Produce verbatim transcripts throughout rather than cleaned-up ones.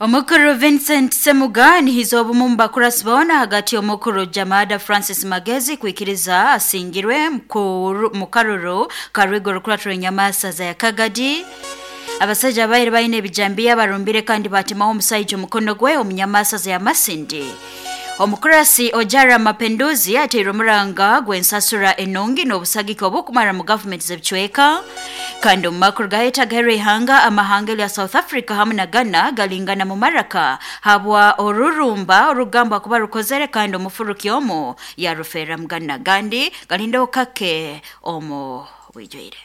Omukuru Vincent Semuga nihiza obumu mu bakurasi boona hagati y'omukuru Jamada Francis Magezi kwikiriza asingirwe mu karuru karwigo rukuratura enyamasaza ya Kagadi. Abasajja abaire baine ebijambiya barumbire kandi batimaho omusaija omukono gwe omunyamasaza ya Masindi. Omukurasi Ojara Mapenduzi ateire omuranga gw'ensasura enungi n'obusagiki obukumara mu gavumenti z'ebicweka. Kandi omu makuru gaheta ihanga amahanga lya South Africa hamwe na Ghana galingana mu maraka habwa orurumba orugamba kuba rukozere kandi omufuruki omu yarufera mu Ghana gandi galinda okake omu bwijwire.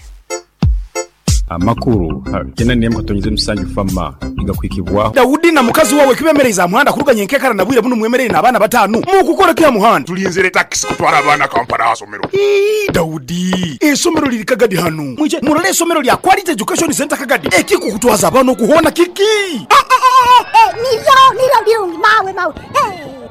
Amakuru tena niyemo katonyize musanju fama igakwikibwa Daudi na mukazi wawe kibemereza muhanda kuruganye nkekara na bwire buno mwemerere n'abana batanu mu kukora kya muhanda tulinzire taxi kutwara abana Kampala asomero. Ii Daudi esomero liri Kagadi hanu mwije murole esomero lya Quality Education Center Kagadi ekiko kutwaza abana okuhona kiki niyo niyo byungi mawe mawe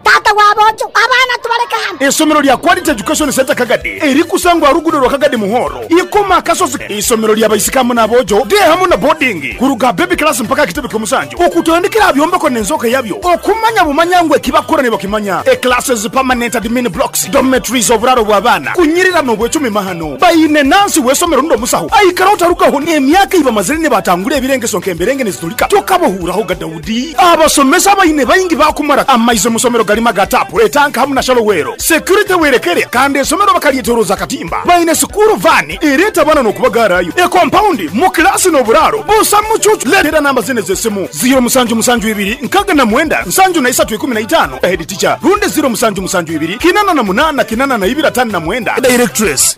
tata wabojo abana tubareka hano. Esomero lya Quality Education Center Kagadi eri kusangwa rugudo rwa Kagadi Muhoro ikoma kasozi. Isomero lya baisikamu nabojo de hamu na boarding kuruga baby class mpaka kitebe kyomusanju okutandikira byombeko nenzoka yabyo okumanya bumanyangwe kibakora ne bakimanya e classes permanent admin blocks dormitories oburaro bw'abana kunyirira no bwecumi mahano bayine nansi wesomero ndo musaho aikara utarukaho ne emyaka iba mazire ne batangure ebirengeso nkemberenge nezitulika tokabohuraho ga Daudi abasomesa bayine bayingi bakumara amaizo musomero galima gatapu etanka hamu na shalowero security werekere kandi esomero bakalietoroza katimba bayine sukuru vani ereta bana no kubagarayo e compound mu class no buraro busa mucucu letera namba zine zesimu zero musanju musanju ibiri nkaga na mwenda nsanju na isatu ikumi na itano head teacher runde zero musanju musanju ibiri kinana na munana kinana na ibira tano na mwenda directress.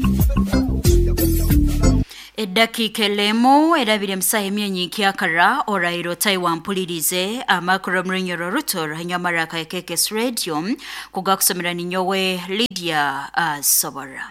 Edakika elemu erabire musaha emyenyi kyakara orairo Taiwan mpulirize amakuru murunyoro ruto hanyamara ka K K S Radio kugakusomera ninyowe Lydia uh, Sobora.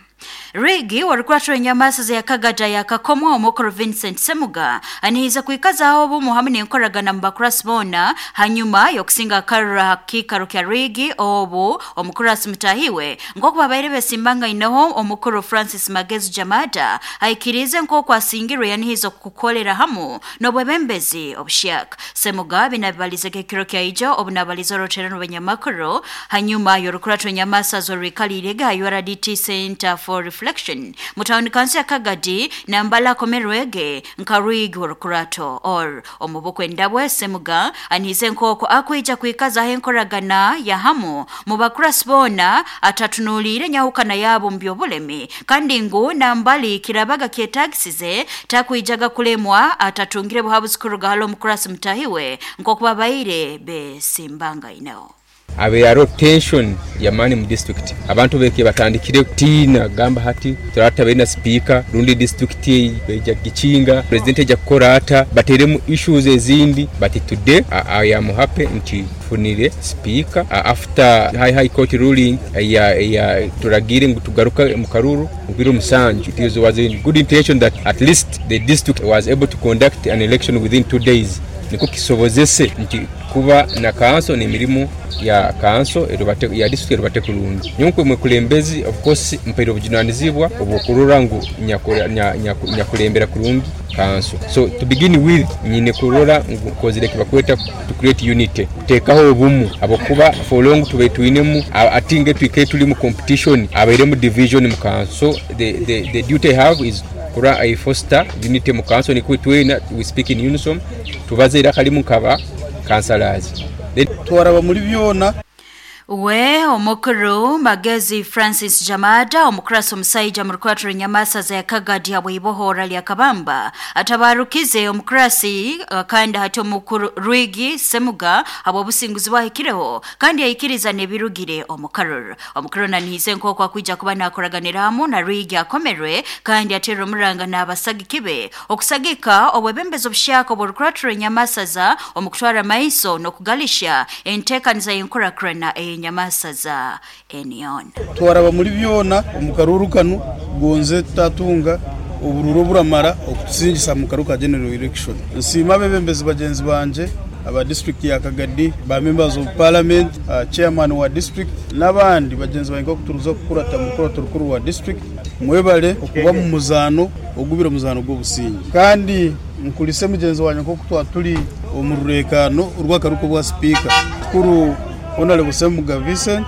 Rigi warukwatro enyamasa ya Kagada ya kakomwa omukuru Vincent Semuga anihiza kuikaza obumu hamwe n'enkoragana mu bakurasi boona hanyuma yokusinga akarura hakikaro kya Rigi obu omukurasi mutahiwe nk'oku babaire besimbanga inoho omukuru Francis Magezi Jamada aikirize nk'oku asingirwe yanihiza kukolera hamu n'obwebembezi obushaka. Semuga binabibalize kekiro kya ijo obunabaliza oroterano benyamakuru hanyuma yorukuratro enyamasa zorikaliirega U R D T Center for Reflection mutawuni kansi ya Kagadi nambala komerwege nkarwigi orukurato or omubukwe ndabwe Semuga anize nkoko akwija kuikaza henkoragana ya hamu mu bakurasi boona atatunulire nyahukana yabo mu byobulemi kandi ngu nambali kirabaga kyetagisize takwijaga kulemwa atatungire buhabuzi kuruga halo mukurasi mutahiwe nkokuba babaire besimbanga ineo abe aro tension ya mani mu district abantu beke batandikire kutina gamba hati turata bena speaker rundi district beja gicinga president eja kukorata bateremu issues ezindi but today I, I am happy nti funire speaker after high high court ruling ya ya turagire ngu tugaruka mu karuru mubiro musanju. It was a good intention that at least the district was able to conduct an election within two days niko kisobozese nti kuba na kanso ni emirimu ya kanso erubate ya district erubate kulungi nyonkwe mwekulembezi of course mpairo obujunanizibwa obukurura ngu nyakulembera kulungi kanso. So to begin with nyine kurora ngu kozire kibakweta to create unity kutekaho obumu abokuba for long tube tuinemu atinge twike tuli mu competition abaire mu division mu kanso. The the the duty I have is kura I foster unity mu kanso ni kwitwena we speak in unison tubaze era kalimu kaba councillors twaraba muri byona. We omukuru Magezi Francis Jamada omukurasi omusaija mu rukwatiro nyamasa ya Kagadi habwibohora lya Kabamba atabarukize omukurasi kandi hati omukuru Rwigi Semuga abo businguzi bwahikireho kandi yayikiriza nebirugire omukaruru omukuru nanihize nk'oku akwija kuba nakoraganira hamu na Rwigi akomerwe kandi atera omuranga n'abasagikibe okusagika obwebembezi obushaka oburukwatiro nyamasa omukutwara maiso n'okugalisha enteekaniza y'enkorakurana e nyamasaza enion twaraba muri byona omukaruru kanu gonze tutatunga obururo buramara okutusingisa mu karuka general election. Nsiima bebembezi bagenzi banje aba district ya Kagadi ba members of parliament, uh, chairman wa district n'abandi bagenzi bange okuturuza kukurata mukuru rukuru wa district mwebale okuba mu muzano ogubira muzano gw'obusingi kandi Nkulise mugenzi wanjye nko kutwa turi omu rurekano urw'akaruko bwa speaker kuru Honorable Semuga Vincent,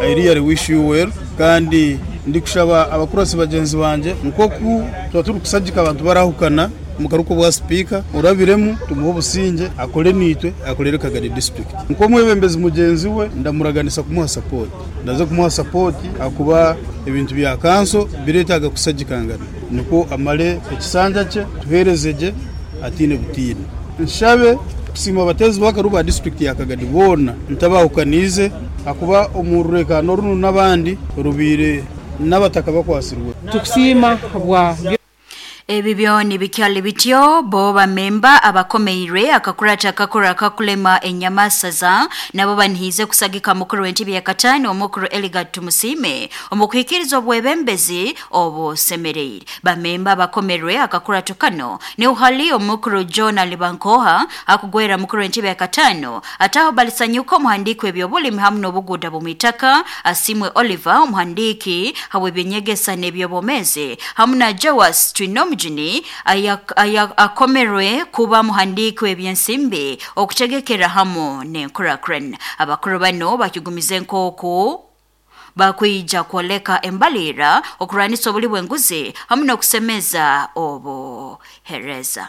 I really wish you well, kandi ndi kushaba abakurasi bagenzi banje nkoku tuba turi kusagika abantu barahukana mu karuko bwa speaker urabiremu tumuhe obusinge akore nitwe akorere Kagadi district. Nko mwebembezi mugenzi we ndamuraganisa kumuha support, ndaze kumuha support akuba ebintu bya kanso biretaga kusagikangana niko amale ekisanja cye tuherezeje atine butine. Nshabe kusima abatezi bakaruba district ya Kagadi bona ntabahukanize akuba omururekano runu nabandi rubire n'abataka bakwasirwe tukusima bwa Ebi byoni bikyali bityo bo bamemba abakomeire akakurata akakora akakulema enyamasaza nabo banihize kusagika mukuru w'entebe ya katano omukuru Eligat Tumusime omukwikiriza obwebembezi obusemereire. Bamemba abakomerwe akakurato kano ni uhali omukuru John Alibankoha akugwera mukuru w'entebe ya katano ataho balisanyuka omuhandiki w'ebyobulimi hamu n'obuguda bw'omuitaka Asimwe Oliver omuhandiki haw'ebyenyegesa n'ebyobomeze hamu na Joas Twinomu Juni akomerwe kuba muhandiki w'ebyensimbi okutegekera hamu n'enkurakren. Abakuru bano bakigumize nk'oku bakwija kwoleka embalira okurwanisa obuli bw'enguzi hamu n'okusemeza obuhereza.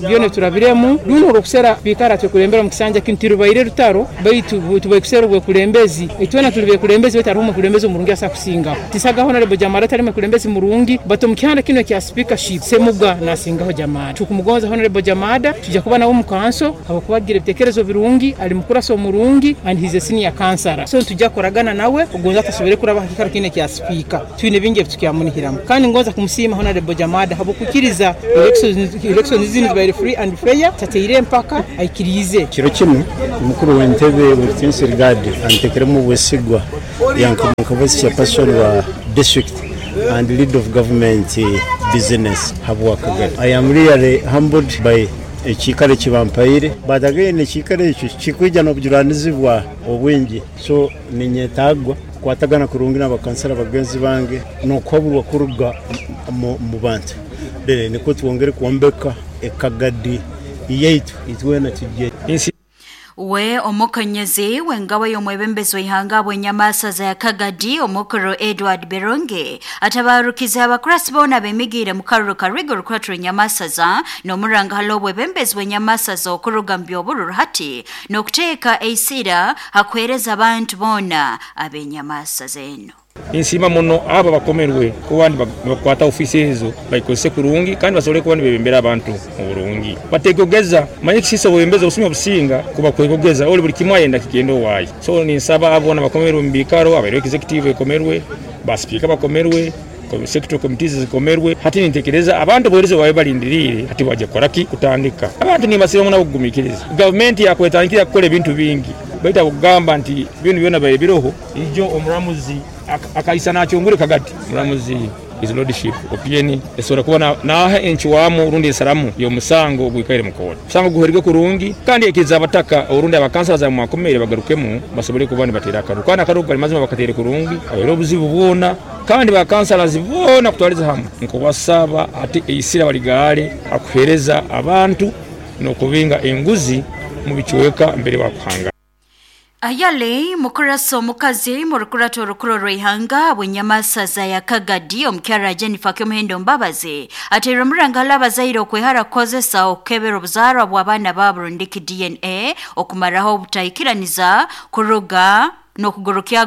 Byone turabiremu luno orokusera bikara twekulembera mu kisanja kintirubaire rutaro baitu tubakusera obwekulembezi itwena tuli bekulembezi baitu hariho omukulembezi omurungi asa kusingaho tisagaho Honorable Jamara tali mukulembezi murungi bato mu kihanda kino kya speakership Semuga nasingaho Jamara. Tukumugonza Honorable Jamada tujja kuba nawe mu kanso abakubagira ebitekerezo birungi ali mukurasa omurungi and he's a senior counselor, so tujja koragana nawe ogonza tasobere kuraba hakikaro kino kya speaker twine bingi ebitukyamunihiramu kandi ngonza kumusiima Honorable Jamada habokukiriza elections elections zibere free and fair tateire mpaka aikirize. Kiro kinu mukuru w'entebe w'Tensi Regard antekeremu bwesigwa yanka vice chairperson wa district and lead of government business habwa Kagadi. I am really humbled by ekikare kibampaire but again ekikare ekyo kikwija n'obujuranizibwa obwingi, so ninyetagwa kwatagana kurungi n'abakansala bagenzi bange n'okwaburwa kuruga mu bantu dere niko twongere kuombeka Ekagadi yaitu itwena tujye. We omukonyezi wengawa y'omwebembezi w'ihanga bw'enyamasaza ya Kagadi omukuru Edward Beronge atabarukiza abakurasi bona bemigiire mu karuru karigo rukwatira enyamasaza n'omuranga hali obwebembezi bw'enyamasaza okuruga mu by'obururu hati n'okuteeka eisira hakuhereza abantu bona ab'enyamasaza eno. Insima muno aba bakomerwe kuba bakwata ofisi ezo bayikozese kurungi kandi basobole kuba nibebembera abantu mu burungi bategogeza manye kisisa obwebembezi obusumya obusinga kuba kwegogeza oli buli kimwe ayenda kigenda owaayi. So ninsaba abona bakomerwe mu bikaro abaire executive ekomerwe basipika bakomerwe sector committees zikomerwe hati nintekereza abantu bohereze bawe balindirire hati waje koraki kutandika abantu nibasira muna kugumikiriza government yakwetandikira kukola ebintu bingi baita kugamba nti bintu byona baye biroho ijo omuramuzi akaisa nakyongure Kagadi muramuzi his lordship opinion esobola kuba naha enchiwamu rundi ensaramu y'omusango ogwikaire mu kooti musango guherige kurungi kandi ekiriza abataka orundi abakansala za mwakomere bagarukemu basobole kuba nibatera akaru kandi akaru kali mazima bakatere kurungi abaire obuzibu bwona kandi bakansala zibona kutwaliza hamwe nkobasaba ati eisira baligale akuhereza abantu n'okubinga enguzi mu bichweka mbere bakuhanga. Ayale mukurasa omukazi murukurato orukuro rw'ihanga bw'enyamasaza ya Kagadi omukyara Jennifer Kyomuhendo Mbabazi ateire omuranga abazaire okwehara kukozesa okukebera obuzaarwa bw'abaana baabo rundiki D N A okumaraho obutahikiraniza kuruga n'okugurukya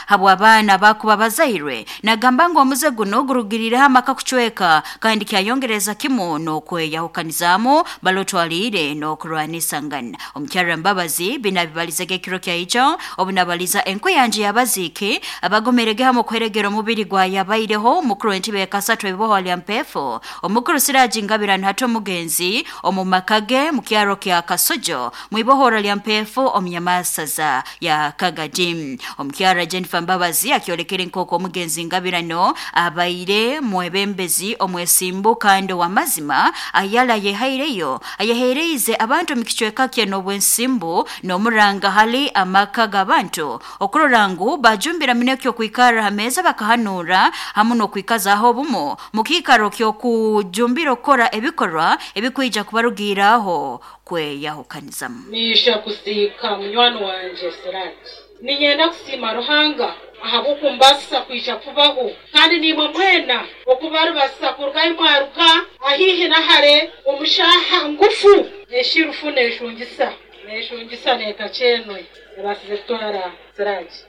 habw'abaana bakuba bazairwe. Nagamba ngu omuze guno gurugirireho amaka kucweka kandi kyayongereza kimu n'okweyahukanizamu balotwalire n'okurwanisangana. Omukyara Mbabazi binabibalizege ekiro kyaijo obunabaliza enkuyanja y'abaziiki abagomerege hamwe okuheregera omubiri gwa yabaireho omukuru w'entebe yakasatu ebiboho lya Mpefu omukuru Siraji Ngabirano hati omugenzi omu maka ge mu kyaro kya Kasojo mwibohora lya Mpefu omunyamasaza ya Kagadi. Kagadi. Omukyara Jennifer Mbabazi akyolekere nkoko omugenzi Ngabirano abaire mwebembezi omwesimbu kandi wamazima ayala yehaireyo ayahereize abantu mikichweka kye n'obwensimbu n'omuranga hali amaka g'abantu okurora ngu bajumbira minekyo kwikara hameza bakahanura hamu n'okwikazaho obumu mukikaro ky'okujumbira okukora ebikorwa ebikwija kubarugiraho kweyahukanizamu. Nisha kusiika munywani wanje Sirati, ninyenda kusiima Ruhanga ahabw'okumbasisa kwija kubaho, kandi nimwe mwena okubarubasisa kurugayo mwaruka ahihi nahare omushaha ngufu eshirufu neshungisa neshungisa nekachenwe ebasize kutwara Sirati.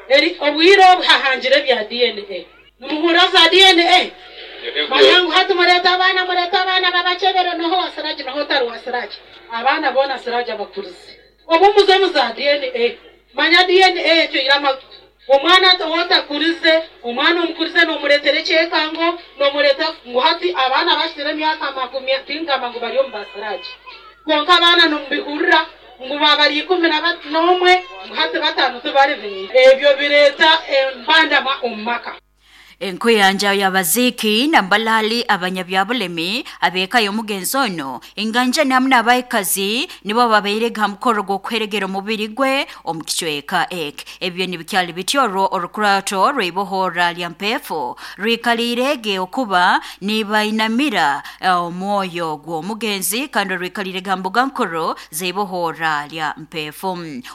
Eri obwire obuhahangire bya D N A nimuhura za D N A manyangu hati mureta abaana mureta abaana babachebere noho wa Sirati noho otari wa Sirati abaana boona Sirati abakurize obu muze za D N A manya D N A ekyo irama omwana otakurize omwana omukurize n'omureetera ekyekango n'omureeta ngu hati abaana bashitire emyaka makumi tingamba ngu bari omu basirati kwonka abaana nomubihurira ngu babari ikumi n'omwe ngu hati bataano tibari beire ebyo bireeta embandama omu maka. Enkuyanja y'abaziki nambalali abanyabyabulemi abeka y'omugenzi ono inganja namna abayikazi nibo babairega mukoro gw'okweregera omubiri gwe omu kicweka ek ebyo nibikyali bityoro orukurato rw'ibohora lya mpefu rwikalirege okuba nibainamira omwoyo gw'omugenzi kandi rwikalirega mbuga nkuru z'ibohora lya mpefu.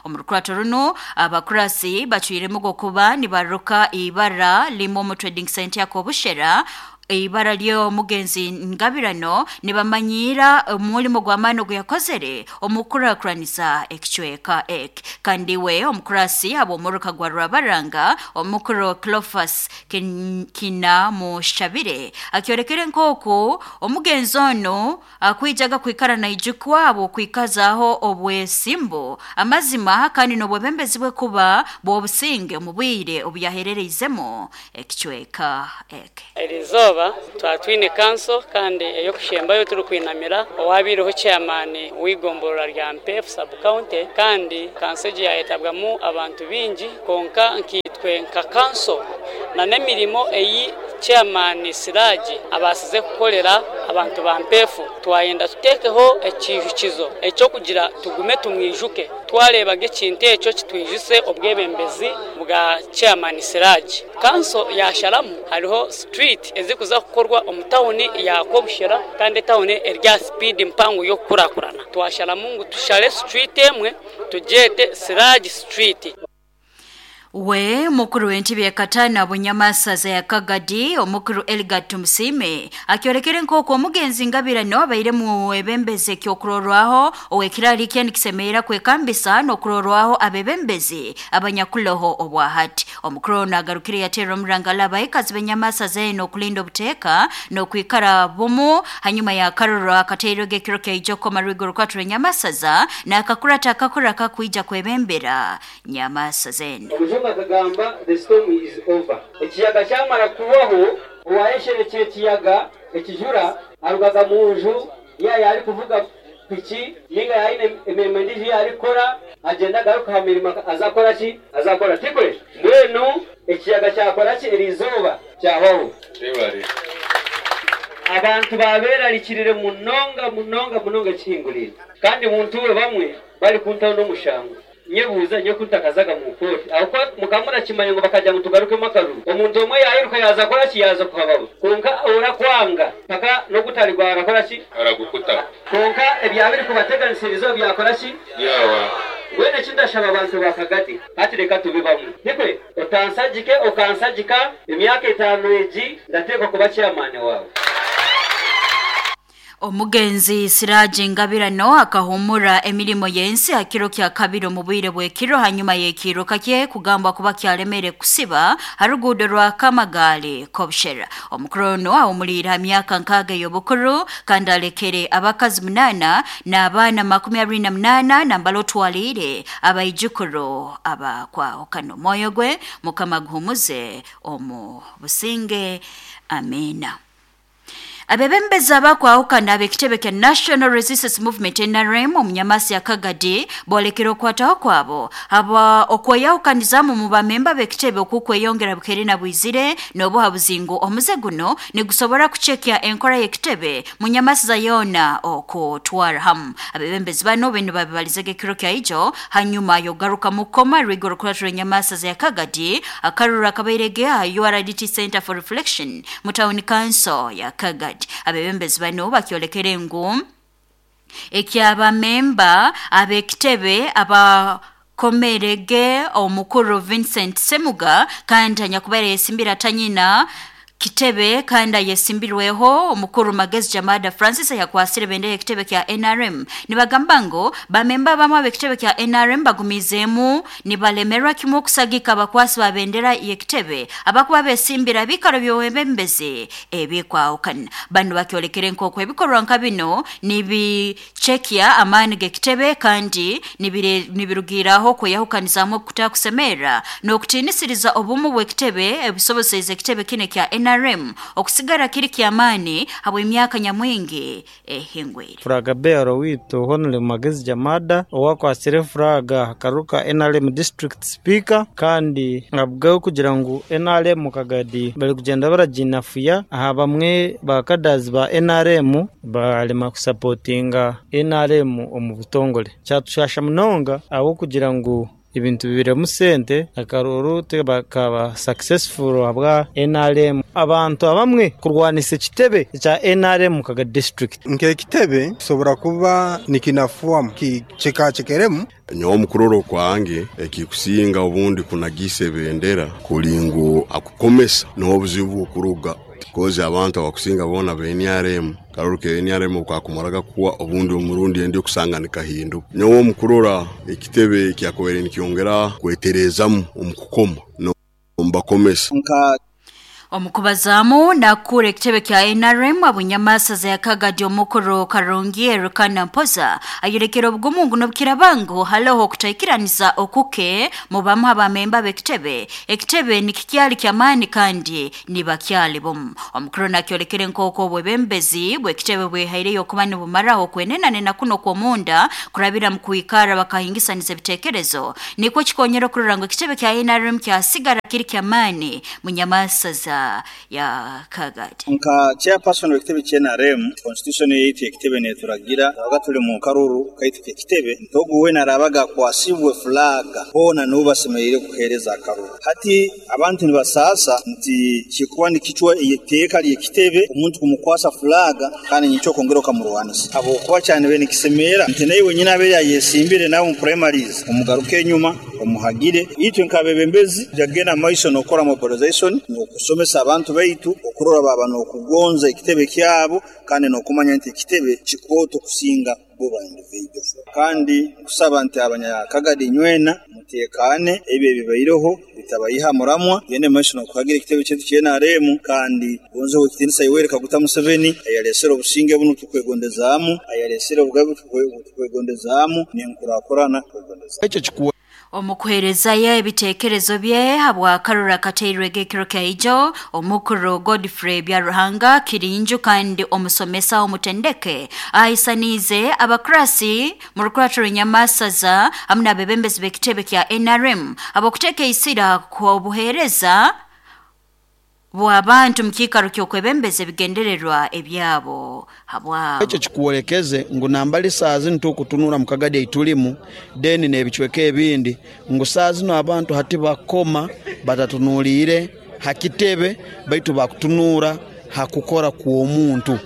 Omu rukurato runo abakurasi bacwiremu okuba nibaruka ibara limo mu Trading Center yakobushera ibara lyo mugenzi Ngabirano nibamanyira omulimo gw'amaani gwe yakozere omukurakuranisa ekicweka ek kandi we omukurasi abo muruka gwa Rwabaranga omukuru Clofas kin, kina mushabire akyorekere nkoko omugenzi ono akwijaga kwikara na ijukwabo kwikazaho obwesimbo amazima kandi n'obwebembezi bwe kuba bw'obusinge mu bwire obuyaherereizemo ekicweka ek. Erizoba twatwine kanso kandi eyokushembayo turi kwinamira owabireho chairman wigomborora rya Mpefu sub county kandi kanso egi yayetabwamu abantu bingi konka nkitwe nka kanso na nemirimo eyi chairman Siraji abasize kukolera abantu ba Mpefu twayenda tutekeho ekijukizo ekyo kugira tugume tumwijuke twarebaga ekintu ekyo kitwijuse obwebembezi bwa chairman Siraji. Kanso yasharamu hariho street ezikuza kukorwa omu tawuni ya Kobushera kandi tawuni erya speed mpango yo kukurakurana twasharamu ngu tushare street emwe tujete Siraji street. We mukuru w'entebe ya katana bunyamasaza ya Kagadi omukuru Elgar Tumusime akyorekere nkoko omugenzi Ngabirano abaire mu ebembeze kyokurorwaho owekirali kye nikisemeera kwekambisa n'okurorwaho abebembezi abanyakuloho obwahati. Omukuru ono agarukire yatera omurangala abayikazi benyamasaza eno okulinda obuteeka n'okwikara bumu hanyuma ya karoro akateero g'ekiro kyaijoko marugo rukwatura enyamasaza n'akakurata akakura kakwija kwebembera nyamasaza eno. Akagamba the storm is over. Ekiyaga kyamara kubaho owayesherekye ekiyaga ekijura arugaga mu nju yaya ari kuvuga piki ninga yaine emirimo endijo yarikora agenda agaruka ha mirimo azakora ki azakora tikwe mbwenu ekiyaga kyakora ki eriizooba kyabaho abantu baberarikirire munonga munonga munonga ekihingurire kandi muntu we bamwe bari kuntaho n'omushango nyebuuza nyo kuntakazaga mu koti aho mukamura kimanye ngo bakajya mutugarukemo akaruru omuntu omwe yayiruka yaza kora ki yaza kuhabaho konka orakwanga paka no kutarigwa arakora ki aragukuta konka ebyabiri kubateganisirizo byakora ki yawa wene kindashaba abantu bakagati ati reka tube bamwe nikwe otansajike okansajika emyaka etano egi ndateekwa kuba chairman wawe. Omugenzi Siraji Ngabirano akahumura emirimo yensi hakiro kya kabiri mu bwire bw'ekiro hanyuma y'ekiro kakye kugamba kuba kyalemere kusiba harugudo rwa Kamagali Kobshera. Omukuru ono awumulira myaka nkaga y'obukuru kandi alekere abakazi munana n'abaana makumi abiri na munana nambalo twalire abaijukuru abakwahukana omwoyo gwe Mukama guhumuze omu businge amina. Abebembezi abakwahukana ab'ekitebe kya National Resistance Movement N R M omunyamasi ya Kagadi bolekera okwataho kwabo aba okweyahukanizamu mu bamemba b'ekitebe okukweyongera bukere na bwizire n'obuhabuzingu omuze guno nigusobora kuchekya enkora y'ekitebe munyamasi za yona okutwara hamu. Abebembezi bano bino babibalizege ekiro kya ijo hanyuma yogaruka mukoma rigoro kulatula enyamasi za Kagadi akarura kabairege aha U R D T Center for Reflection mu town council ya Kagadi. Abebembezi bano bakyolekere ngu ekyabamemba ab'ekitebe aba komerege omukuru Vincent Semuga kandi anyakubaire yesimbira tanyina kitebe kandi yesimbirweho omukuru Magezi Jamada Francis yakwasire bendera ekitebe kya N R M. Nibagamba ngo bamemba bamwe ab'ekitebe kya N R M bagumizemu nibalemerwa kimwe okusagika abakwasi ba bendera y'ekitebe abakuba besimbira bikaro by'obwebembezi ebikwahukana. Bano bakyolekere nk'oku ebikorwa nka bino nibichekya amaani g'ekitebe kandi nibirugiraho kweyahukanizamu okutakusemera n'okutiinisiriza obumu bw'ekitebe ebisoboseize ekitebe kine kya N R M okusigara kiri kyamani habw'emyaka nyamwingi ehingwire. Furaga bearo witu Honorable Magezi Jamada owakwasire furaga karuka N R M district speaker kandi abgaho kugira ngu N R M Kagadi bali kugenda baraginafuya aha bamwe bakadazi ba N R M balema kusupportinga N R M omu butongole kyatushasha munonga aho kugira ngu ibintu bibiremu sente akaruru bakaba successful abwa N R M abantu abamwe kurwanisa ekitebe kya N R M Kaga district. Nke kitebe kisobora kuba nikinafuamu kichekachekeremu nyowe omukuroro kwange ekikusinga obundi kunagisa ebendera kulingu akukomesa n'obuzibu okuruga kozi abantu abakusinga bona be N R M karuke N R M okakumaraga kuwa obundi omurundi endi okusanga nikahindu. Nyowe omukurora ekitebe kyakobere nikyongera kweterezamu omukukoma no mbakomesa. Nka Omukubazamu nakura ekitebe kya N R M abunyamasa za Kagadi omukuru Karungi Erukana Mpoza ayerekera obugumungu n'obukirabango haloho okutaikiraniza okuke mu bamu abamemba b'ekitebe. Ekitebe nikikyali kyamaani kandi nibakyali bomu. Omukuru nakyolekere nk'oku obwebembezi bw'ekitebe bwehaireyo okuba nibumaraho kwenenane na kuno kw'omunda kurabira mu kwikara bakahingisaniza ebitekerezo nikwo kikonyera okurora ngu ekitebe kya N R M kyasigara kiri kyamaani munyamasa za ya Kagadi. Nka chairperson w'ekitebe kya N R M constitution yaitu ekitebe neturagira abaga tuli mu karuru kaitu ekitebe ntogu we narabaga kwasibwe flaga bona nubasemerire kuhereza akaruru. Hati abantu nibasasa nti kikuwa nikichwa iteeka ly'ekitebe omuntu kumukwasa flaga kandi nicho kongera okamurwanisa abo kuba cyane be nikisemera nti naye wenyine abe yayesimbire nawe mu primaries omugaruke enyuma omuhagire itwe nkabebembezi jagenda maiso nokora mobilization nokusomesa abantu baitu okurora baba nokugonza ekitebe kyabo kandi nokumanya nti ekitebe kikwoto kusinga bo ba individual. Kandi kusaba nti abanyakagadi nywena mutekane ebyo bibaireho bitabayiha muramwa yene maiso nokuhagira ekitebe cyetu kya N R M kandi gonze okitinisa Yoweri Kaguta Museveni ayalesera obusinge buno tukwegondezaamu ayalesera obugabe tukwegondezaamu nenkurakurana tukwegondezaamu. Ekyo kikuwa Omukuherezayo ebitekerezo bye habwa karura kateirwege ekiro kya ijo omukuru Godfrey Byaruhanga Kirinju kandi omusomesa omutendeke ahisanize abakrasi mu rukuratiro nyamasaza hamwe n'abebembezi b'ekitebe kya N R M abokuteka isira ku buhereza bw'abantu mukikaro ky'okwebembeza ebigendererwa ebyabo habwabo. Ekyo kikuwolekeze ngu nambali saa zino tukutunura mu Kagadi eitulimu deni n'ebicweka ebindi ngu saa zino abantu hati bakoma batatunuulire hakitebe baitu bakutunura hakukora kw'omuntu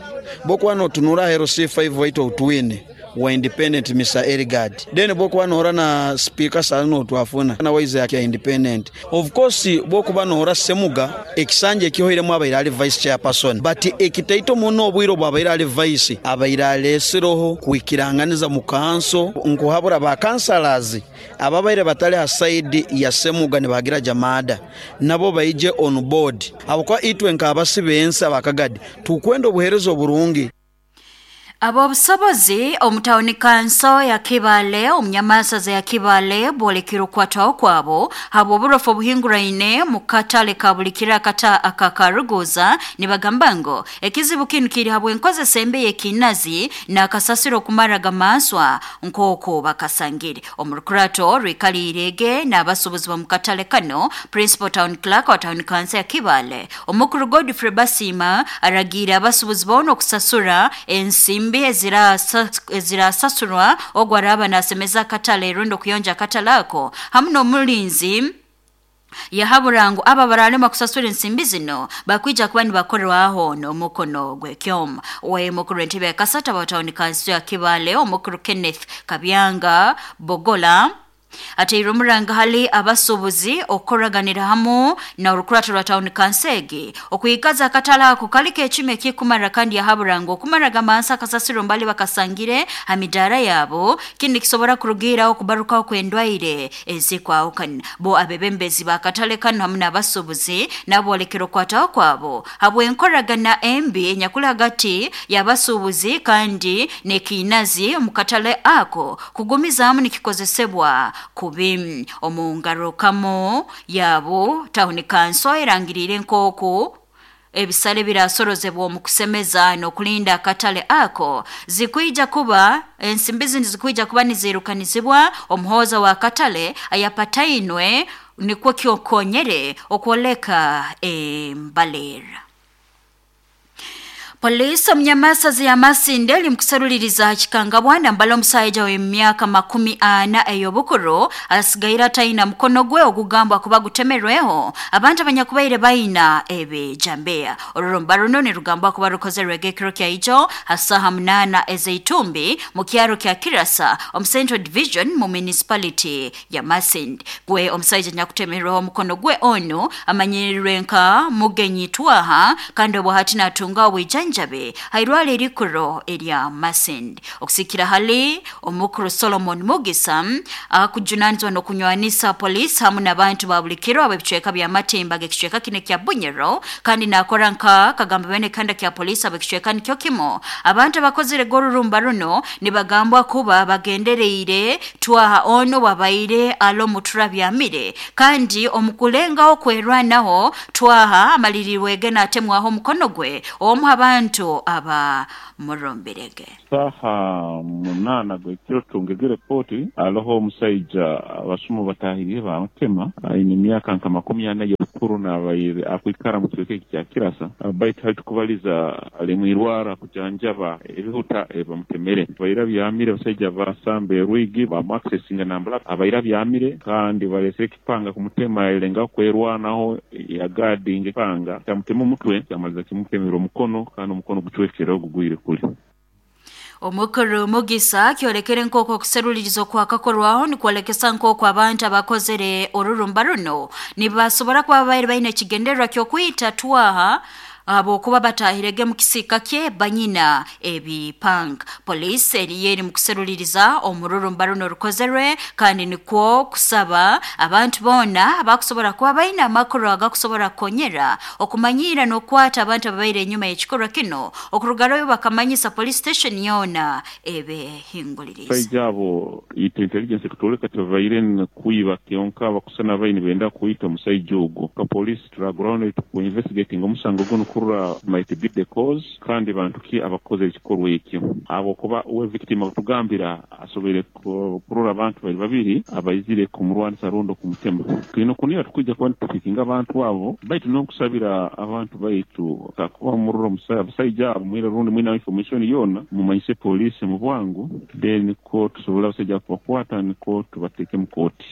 bokuba notunura hero C five waitu otwine wa independent Mister Erigard then bokuba nohora na speaker saa twafuna na waize ya independent of course bokuba nohora Semuga ekisanje ekihoiremu abaire ali vice chairperson but ekitaito muno obwiro bwabaire ali vice abaire alesiroho kwikiranganiza mu kanso nkuhabura ba councillors ababaire batali ha side ya Semuga ne bagira Jamada nabo baije on board abokwa itwe nkabasibensa bakagadi tukwenda obuherezo burungi. Abobusobozi omutawuni kanso ya Kibale omunyamasaza ya Kibale bolekera okwataho kwabo habwo oburofu obuhinguraine mu katale ka bulikira kata akakaruguza nibagamba ngo ekizibu kinu kiri habwe enkozesa embi y'ekinazi n'akasasiro okumara gamanswa nk'oko bakasangire. Omurukurato rwikalirege n'abasubuzi ba mu katale kano Principal Town Clerk wa Town Council ya Kibale omukuru Godfrey Basima aragira abasubuzi boona okusasura ensimbi ezirasasurwa ogwaraba nasemeza akatale rundo kuyonja akatale ako hamu n'omulinzi yahaburangu aba baralema kusasura ensimbi zino bakwija kuba nibakorwaho n'omukono gw'ekyoma. We mukuru w'entebe ya kasata wa Town Council ya Kibale omukuru Kenneth Kabyanga Bogola ateire omuranga hali abasubuzi okukoraganira hamu na orukurato rwa Town Council okuikaza akatale ako kaliko ekime ekikumara kandi yahaburanga okumara gamansa akasasiro mbali bakasangire hamidara yabo kindi kisobora kurugiraho okubarukaho kw'endwaire ezikwahukana. Bo abebembezi bakatale kano hamu n'abasubuzi nabolekera okwataho kwabo habw'enkoragana embi enyakuli hagati y'abasubuzi kandi n'ekinazi omu katale ako kugumizaamu nikikozesebwa kubi. Omungarukamo yabo Town Council erangirire nk'oku ebisale birasorozebwa omu kusemeza n'okulinda akatale ako zikwija kuba ensimbi zindi zikwija kuba nizirukanizibwa omuhoza wa katale ayapatainwe nikwo kyokonyere okwoleka embalera. Polisi omunyamasazi ya Masinde eri mukusaruliriza hakikangabwana mbala omusajja w'emyaka makumi ana ey'obukuru asigaire ataina mukono gwe ogugambwa kuba gutemerweho abantu abanyakubaire baina ebijambiya. Orurumba runo nirugambwa kuba rukozerwege ekiro kya ijo hasaha munana ezeitumbi mu kyaro kya Kirasa omu Central Division mu municipality ya Masinde. Gwe omusajja nyakutemerweho omukono gwe onu amanyirirwe nka Mugenyi Twaha kandi obwo hati natunga obwijanja njabe hairwale erikuro erya Masindi. Okusikira hali omukuru Solomon Mugisa akujunanizwa n'okunywanisa polisi hamu n'abantu ba bulikiro ab'ebicweka bya Matimba g'ekicweka kine kya Bunyoro kandi nakora nka kagamba bene kanda kya polisi ab'ekicweka nikyo kimo. Abantu abakozire gorurumba runo nibagambwa kuba bagendereire Twaha ono wabaire alo mutura byamire kandi omukulengaho kwerwanaho Twaha amalirirwege n'atemwaho omukono gwe omu abantu aba murombirege. Saha munana gwekiro tungege repoti aloho omusajja abasumu batahiriye bamutema aine emyaka nka makumi ana y'obukuru n'abaire akwikara mu kicweka kya Kirasa baitu hali tukubaliza ali mwirwara kujanjaba ebihuta bamutemere baira byamire abasajja basamba erwigi bamuaccessinga nambala abaira byamire kandi balesere ekipanga kumutema elenga kwerwanaho yagadinga epanga kyamutema omutwe kyamaliza kimutemera omukono kandi omukono gucwekere ogugwire kuli. Omukuru Mugisa kyolekere nk'oku okuseruliriza okwakakorwaho nikwolekesa nk'oku abantu abakozere orurumba runo nibasobora kuba babaire baine ekigendererwa ky'okwita Twaha abokuba batahirege mu kisika kye banyina ebipanga. Polisi eriyo eri mu kuseruliriza omururumba runo rukozerwe kandi nikwo kusaba abantu boona abakusobora kuba baine amakuru agakusobora kukonyera okumanyira n'okwata abantu ababaire enyuma y'ekikorwa kino okurugaroyo bakamanyisa police station yoona ebehinguliriza. Baija abo intelligence kutoleka tebabaire kuiba kyonka bakusana baine benda kuita omusajja ogwo. Ka police turaguraho ku investigating omusango guno kurura might be the cause kandi bantu ki abakoze ekikorwa ekyo abo kuba we victim akutugambira asobere kurura abantu bali babiri abaizire kumurwanisa rundo kumutema. Kino kunira tukujja kuba tupikinga abantu abo baitu n'okusabira abantu baitu kakuba murura omusajja abo mwira rundi mwina information yona mumanyise police mu bwangu then ko tusobola abasajja kubakwata niko tubateeke mu kooti.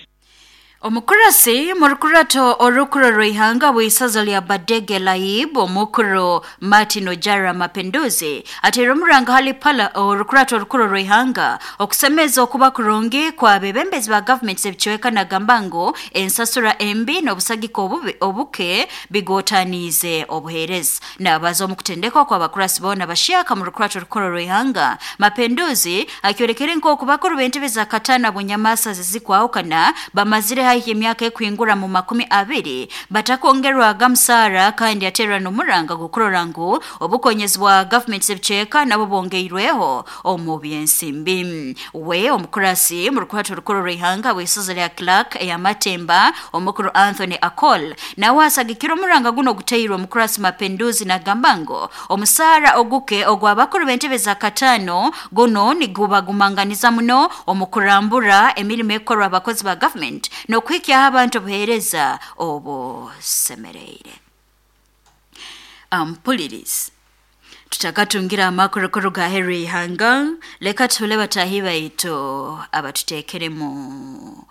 Omukurasi murukurato orukuro rw'ihanga bw'isaza lya Badege Laib omukuru Martin Ojara Mapenduzi ateire omuranga hali pala orukurato orukuro rw'ihanga okusemeza okuba kurungi kwa bebembezi ba government ebicweka nagamba ngu ensasura embi n'obusagiko obubi obuke bigotaniize obuheereza. Nabaza omukutendekwa kwa bakurasi boona bashyaka mu rukurato orukuro rw'ihanga Mapenduzi akyolekere nk'oku bakuru b'entebe za katana bunyamasa zizikwahukana bamazire haihi emyaka ekwingura mu makumi abiri batakongerwaga musara kandi aterwa n'omuranga gukurora ngu obukonyezi bwa government z'ebicweka nabo bongeirweho omu byensimbi. We omukurasi mu rukwato rukuru rw'ihanga bw'isozi lya Clark ey'Amatemba omukuru Anthony Akol nawe asagikira omuranga guno guteirwe omukurasi Mapenduzi nagamba ngu omusara oguke ogw'abakuru b'entebe za katano guno nigubagumanganiza muno omukurambura emirimo ekorwa abakozi ba government n'okuhikyaho abantu obuheereza obusemereire. Ampulirizi tutakatungira amakuru ga Henry Ihanga, leka tuhule batahi baitu abatutekeremu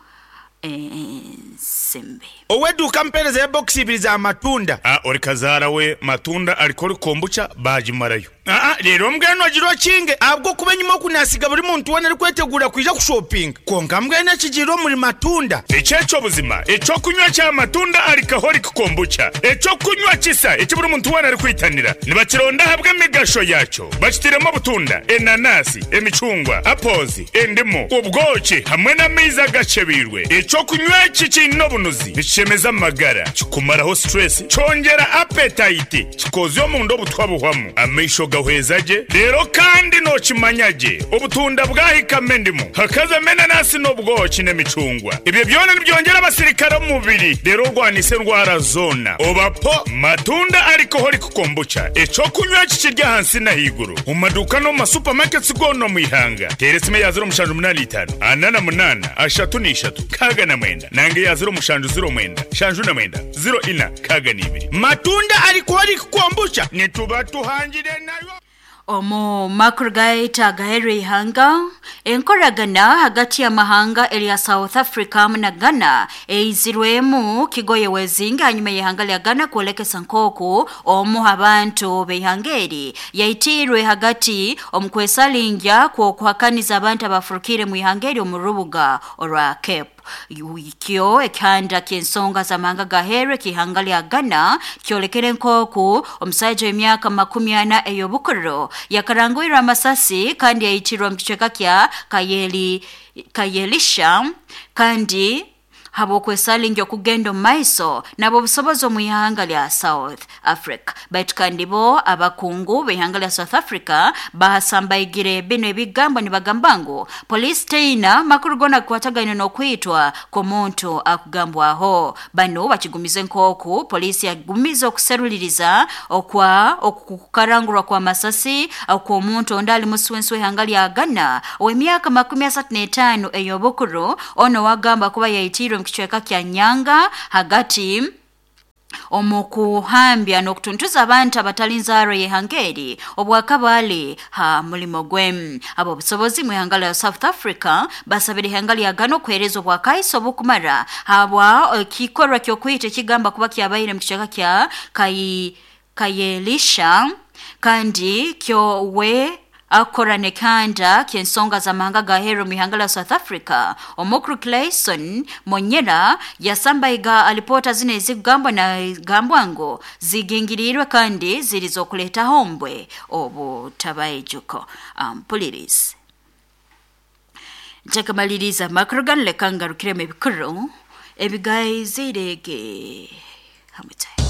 ensimbi. Oweduka mpereza ya box ibiri za matunda. Ah, ori kazara we matunda alikori kombucha bajimarayo. Ah, rero mbweno agiro kinge abwo kuba nyuma kunasiga buri muntu wona ari kwetegura kwija kushopping. Konka mbwene kigiro muri matunda. Echecho buzima, echo kunywa cha matunda alikahori kombucha. Echo kunywa kisa eki buri muntu wona ari kwitanira. Nibakironda habwe emigasho yacho. Bakitiremo butunda, enanasi, emicungwa, apozi, endimu, ubwoki hamwe n'amaizi agacebirwe. Echo kunywa iki kino bunuzi bishemeza amagara, kikumaraho stress, cyongera appetite, kikozyo mu ndo butwabuhwamu. Amaisho gahwezaje rero kandi nokimanyage obutunda bwahikame ndimu hakaza menanasi n'obwoki n'emicungwa. Ibyo byona nibyongera abasirikare mu mubiri rero rwanise ndwara zona. Obapo matunda alcoholic kombucha eco kunywa kikirya hansi na higuru mu maduka no mu supermarkets gono mu ihanga. Teresime ya zero mushanju munani itanu anana munana ashatu n'ishatu kaga na mwenda nange ya zero mushanju zero mwenda shanju na mwenda zero ina kaga n'ibiri. Matunda alcoholic kombucha nituba tuhangire nayo. Omu makuru gaita gahere ihanga, enkoragana hagati ya mahanga eri South Africa na Ghana eizirwemu kigoye wezinga hanyuma y'ihanga lya Ghana kuolekesa nkoku omu abantu b'ihanga yaitirwe hagati omukwesalingya kwokuhakaniza abantu abafurukire mu ihanga eri omu rubuga orwa Cape. Kyo ekihanda ky'ensonga z'amahanga gahere kihanga lya Ghana kyolekere nkoku omusajja w'emyaka makumi ana ey'obukuru yakarangwirwe amasasi kandi yayitirwa mu kicweka kya Kayeli Kayelisha kandi habwokwesalingya okugenda omu maiso nabo obusobozi omu ihanga lya South Africa. Baitu kandi bo abakungu b'ihanga lya South Africa bahasambaigire bino ebigambo nibagamba ngu polisi teina makuru gona kukwatagaine n'okwitwa kw'omuntu akugambwaho. Bano bakigumize nkoku polisi yagumize okuseruliriza okwa okukarangurwa kwa masasi okw'omuntu ondi ali muswensi w'ihanga lya Ghana ow'emyaka makumi asatu n'etaano ey'obukuru ono wagamba kuba yaitirwe kicweka kya Nyanga hagati omukuhambya n'okutuntuza abantu abatali nzaaro y'ihanga obwakabali ha mulimo gwe. Abo obusobozi mu ihanga lya South Africa basabira ihanga lya Ghana okuheereza obwakaiso obukumara habwa ekikorwa ky'okwita ekigamba kuba kyabaire mu kicweka kya Kayi Kayelisha kandi kyo we akora nekanda ky'ensonga z'amahanga gahero mu ihanga la South Africa. Omukuru Clayson Monyera yasambaiga alipota zino ezigambwa na gambwa ngo zigingirirwe kandi zirizokuleta hombwe obutabayijuko. Ampulirizi nkyakamaliriza amakuru ganu leka ngarukiremu ebikuru ebigayizirege hamwe.